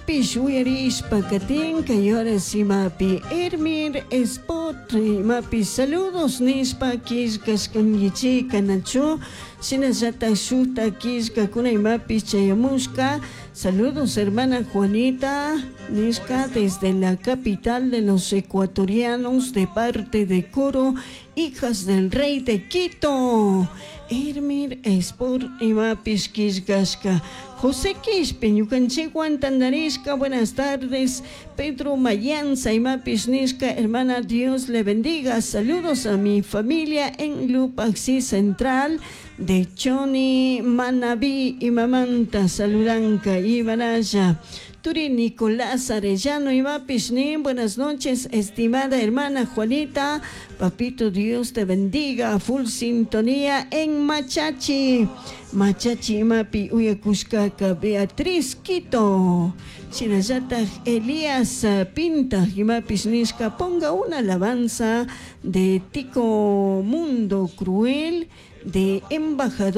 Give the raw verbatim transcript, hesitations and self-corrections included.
Imapish uyarishpa katin kay horas imapi Hermir Spot imapi saludos nishpa killkashkankichik nachu shinallatak shukta killkakuna imapish chayamushka. Saludos, hermana Juanita nishka desde la capital de los ecuatorianos, de parte de coro Hijas del Rey de Quito. Hermir Sport imapish killkashka. José Quispe ñukanchikwan tantarishka. Buenas tardes. Pedro Mayanza imapish nishka, hermana, Dios le bendiga. Saludos a mi familia en Lupaxi Central de Choni Manabí imamanta saludanka imaralla. Turi Nicolás Arellano imapish nin, buenas noches, estimada hermana Juanita, papito, Dios te bendiga. Full sintonía en Machachi. Machachi imapi uyakushkaka Beatriz Quito. Shinallatak Elías Pinta imapish nishka, ponga una alabanza de Tico Mundo Cruel de Embajador.